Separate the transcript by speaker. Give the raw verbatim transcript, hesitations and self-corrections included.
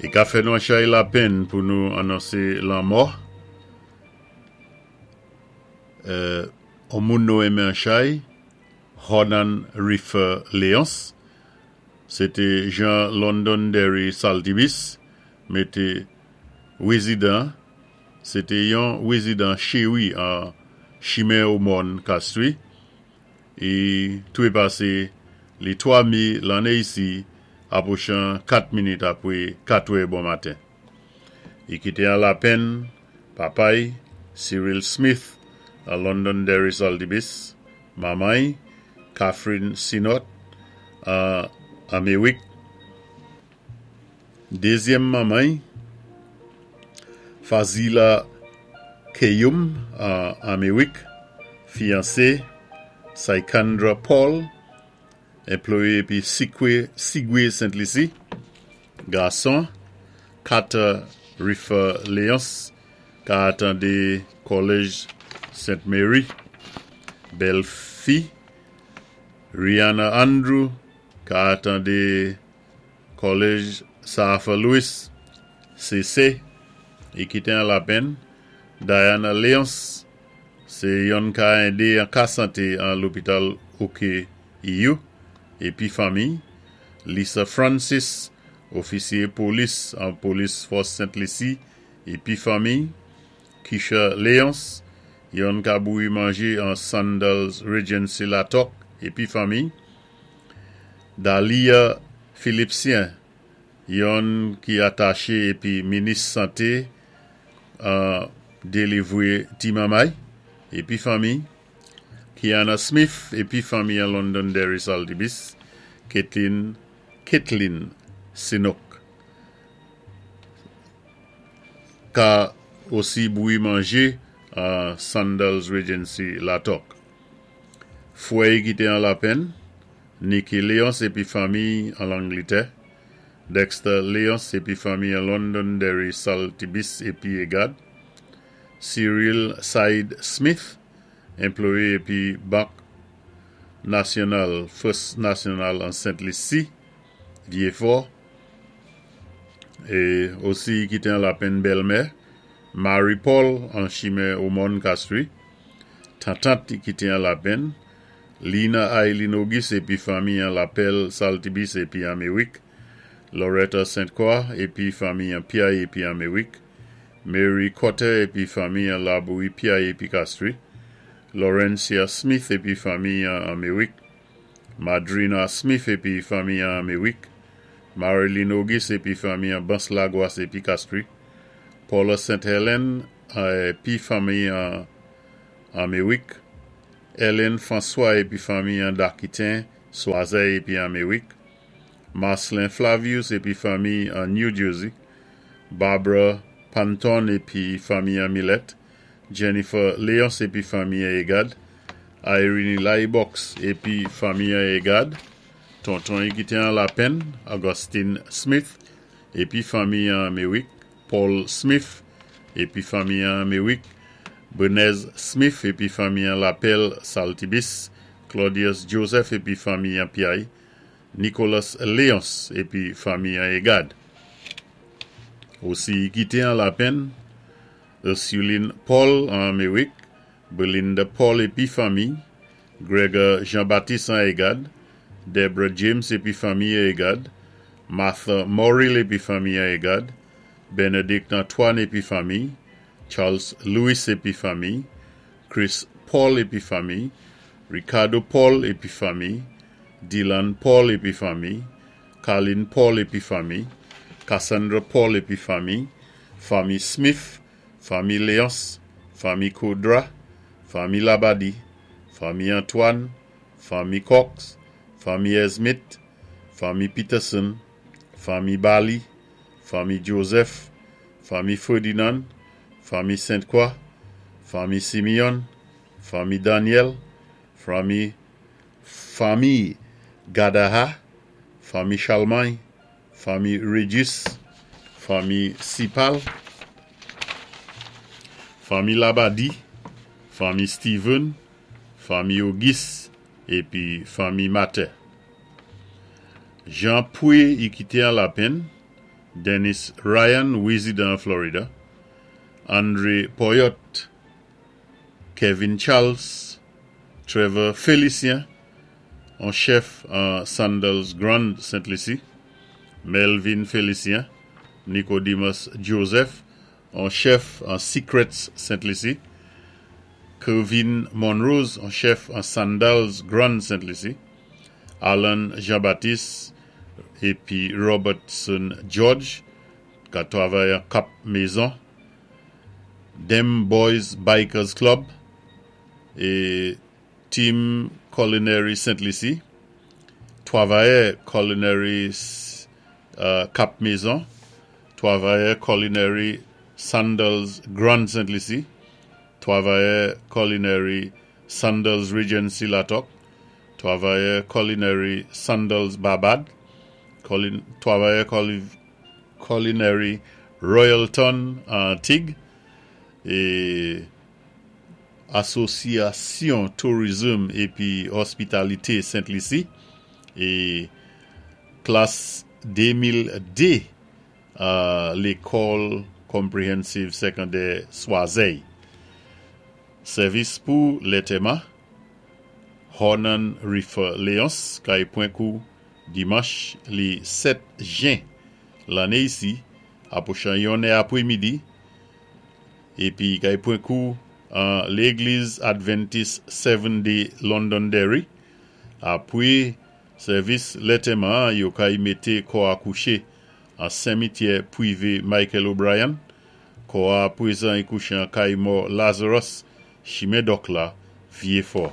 Speaker 1: I ka fè nou an chay lapenn pou nou anonsé lanmò euh, on moun nou enmen an chay, Hornan Riffer Léonce, sé té jan Londonderry Saltibus, mété wézidan, sé té yon wézidan chéwi an Chimen Omòn Castries, i twépasé li twa mé lanné isi apwochan kat minit apwé katwè bon maten. I kité an lapenn papa'y Cyril Smith an Londonderry Saltibus, manman'y Catherine Sinot an Améwik, dézyèm manman'y Fazila Keyum an Améwik, fiyansé Saikandra Paul, anplwayé épi Sikwe Sigwe Sent Lisi, gason Carter Riffer Léonce ka atandé Kòlèj Saint Mary, bèl fi Rihanna Andrew ka atandé Kòlèj Sir Arthur Lewis C C i kité an lapenn Diana Léonce, sé yonn ka édé an ka santé an lopital O K E U épi fanmi Lisa Francis, ofisyé polis an polis fòs Sent Lisi épi fanmi Kisha Léonce, yonn ka bouwi manjé an Sandals Regency Latok épi fanmi Dalia Philipsien, yonn ki ataché épi minis santé an déliwé ti manmay épi fanmi Kiana Smith épi fanmi an Londonderry Saltibus, Caitlin Caitlin Sinok ka osi bouwi manjé an Sandals Regency Latok. Fwè'y kité an lapenn, Nikki Léonce épi fanmi an Langlitè, Dexter Léonce épi fanmi an Londonderry Saltibus épi Égad, Cyril Said Smith, anplwayé épi Bank Nasyonal, First National an Sent Lisi, Vieux-Fort, é osi kité an lapenn bèlmè, Marie Paul an Chimen Omòn Castries, tantant kité an lapenn, Lina Aileen Auguste épi fanmi an Lapèl Saltibus épi Améwik, Loretta Sainte-Croix épi fanmi an Piaye épi Améwik, Mary Cotter épi fanmi an Laboui Piaye épi Castries, Laurencia Smith épi fanmi an Améwik, Madrina Smith épi fanmi an Améwik, Marilyn Auguste épi fanmi an Bans Lagwas épi Castries, Paula Saint Helen épi fanmi an Améwik, Ellen François épi fanmi an Dakitin, Swazey épi Améwik, Marcelin Flavius épi fanmi an New Jersey, Barbara Panton épi fanmi an Millet, Jennifer Léonce épi fanmi an Egad, Irene Laibox épi fanmi an Egad, tonton kité an lapenn, Augustine Smith épi fanmi an Améwik, Paul Smith épi fanmi an Améwik, Benez Smith épi fanmi an Lapèl Saltibus, Claudius Joseph épi fanmi an Piaye, Nicolas Léonce épi fanmi an Egad. Osi kité an lapenn, Ursuline Paul an Améwik, Belinda Paul épi fanmi, Gregor Jean-Baptiste an Egad, Deborah James épi fanmi an Egad, Martha Morrill épi fanmi an Egad, Benedict Antoine épi fanmi, Charles Louis épi fanmi, Chris Paul épi fanmi, Ricardo Paul épi fanmi, Dylan Paul épi fanmi, Carlin Paul épi fanmi, Cassandra Paul épi fanmi, fanmi Smith, fanmi Léonce, fanmi Koudra, fanmi Labadi, fanmi Antoine, fanmi Cox, fanmi Esmith, fanmi Peterson, fanmi Bali, fanmi Joseph, fanmi Ferdinand, fanmi Sainte-Croix, fanmi Simeon, fanmi Daniel, fanmi fanmi Gadaha, fanmi Charlemagne, fanmi Regis, fanmi Sipal, fanmi Labadi, fanmi Steven, fanmi Auguste épi fanmi Mater. Jean Pouy i kité an lapenn, Dennis Ryan, wézidan Florida, Andre Poyot, Kevin Charles, Trevor Félicien, an chèf an Sandals Grand Saint Lucie, Melvin Félicien, Nicodemus Joseph, an chèf an Secrets Saint Lucie, Kevin Monrose, an chèf an Sandals Grand Saint Lucie, Alan Jean-Baptiste épi Robertson George, ka twavay an Cap Maison, Dem Boys Bikers Club, é Team Culinary Saint Lucie, Twavayè Culinary euh, Cap Maison, Twavayè Culinary Sandals Grand Saint Lucie, Twavayè Culinary Sandals Regency Latok, Twavayè Culinary Sandals Barbade, Twavayè Culinary Royalton Antig, é Asosyasyon Tourism épi Hospitalité Saint Lucie, é klas démil dé Lékòl Comprehensive Sekondè Swazey. Sèvis pou létèman, Hornan Rifer Léonce, kay pwan kou dimanch li sèt jen lanné isi, apwochan yon è apwé midi, épi kay pwan kou an Légliz Adventist Seven Day Londonderry. Apwé sèvis létèman, yo kay mété kò a kouché an simityè pwivé Michael O'Brien. Kò a pwézan i kouché an kay mò Lazarus, chimen Dòk la, Vyé Fò.